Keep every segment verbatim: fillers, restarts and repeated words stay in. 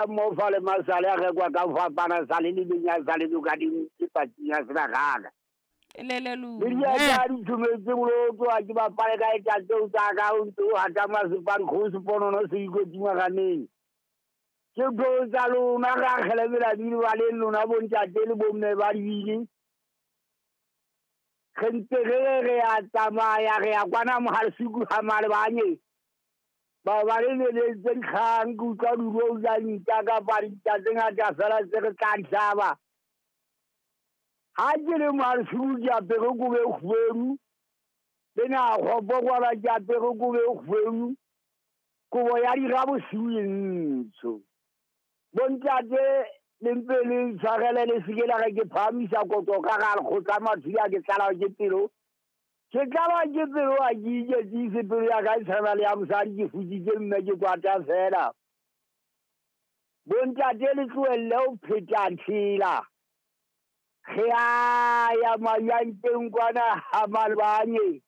Mo fa le masale a rekwa ka ho fapana, sale le leng ya sale ka di patsing ya sebakana. Le le Le lune. diaka di thometse bolotso ha ke bapale ka e tseo tsa ka o ntse o hata masepane kgosi ponono se ikotsi maganeng. Ke tlo tsa lona ra kgelemela bile ba le lona bontate le bomme ba dibini. Re ntse re re re a tsamaya re ya kwana mohalesiku ha malebanye. Ba ba le leletse dikgang ke utlwa duro ja ntja kapa dintja tse ngata fela tse re tla di hlaba. Ha ke le mohalesiku ke apere kobo e kgubedu, le nakgopo kwana ke apere kobo e kgubedu, kobo ya dira bosiu e ntsho. Bontate le mpe le ntshwarele le seke la re ke phahamisa koto ka ga lekgotla mathudi a ke tlala ke pelo. Ke tlala ke pelo ha ke iketsise pelo ya ka e tshwana le ya mosadi ke futsitse mme ke kwata fela. Bontate le tlohelle ho pheta tshela. Re a ya mayanteng kwana ha malebanye.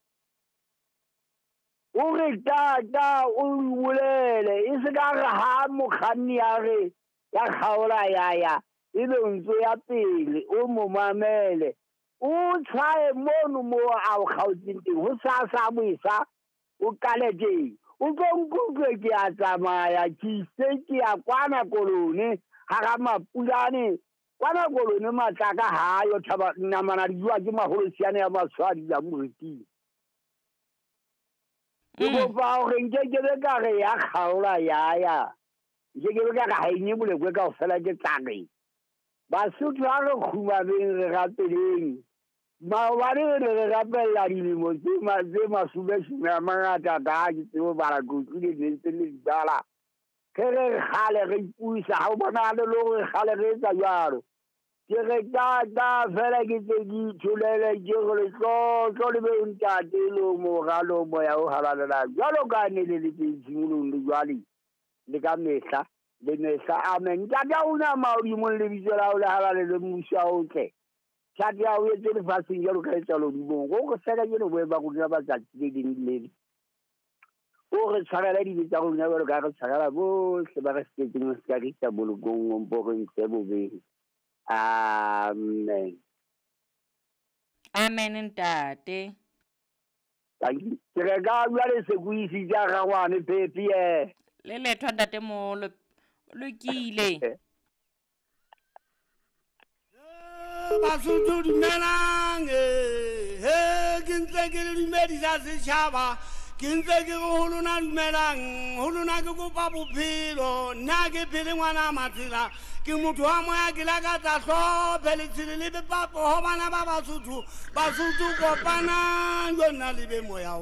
O re tata o bolele e se ka re ha mokganni a re ya kgaola ya ya ebe o ntso ya pele o mo mamele o tshwaye mono mo a o kgaotseng teng ho sasa boesa o qale teng o tlo nkutlwe ke a tsamaya ke ise ke ya kwana kolone hara mapulane kwana kolone matlaka ha yo thaba namana di jwa ke maholosiane ya matshwadi ya moriting. Ke kopa hore nke ke be ka re ya kgaola ya ya nke ke be ka re ha e nye bolekwe kaofela ke tla re Basotho ha re kgumameng re rapeleng. Maobane re ne re rapella dilemo tse ma- tse masomeshome a mangata ka ha ke tsebe ho bala ke utlwile ne ntse le di bala. Ge re re kgale re ipuisa ha o bonahale le hore kgale re etsa jwalo. Ke re tata fela ke tse ke itholele ke re letlotlo le be ntate le mora le moya o halalelang jwalo ka ne le le teng tshimolong le jwale le ka mehla le mehla. Amen. Ntate a rona mahodimong lebitso la hao le halalele mmuso wa o tle. Thato ya hao e etswe lefatsheng jwalo ka e etswa lehodimong. O re fe kajeno boemo ba rona ba tsatsi le leng le le leng. O re tshwarele dibe tsa rona jwalo ka ha re tshwarela bohle ba re sitetseng ho se ka re isa bolokong o mpo re ntshe bobeng. Amen. Amen ntate. Ke re ka jwale se ko isitse a rangwane Pepi eh. Le lethwa ntate moholo lokile. Basotho dumelang eh he ke ntse ke le dumedisa setjhaba ke ntse ke re ho lona dumelang ho lona ke kopa bophelo nna ke phele ngwana Matsela ke motho wa moya ke lakatsa hlophe letshele le bepapo ho bana ba Basotho Basotho kopanang jonna le be moya o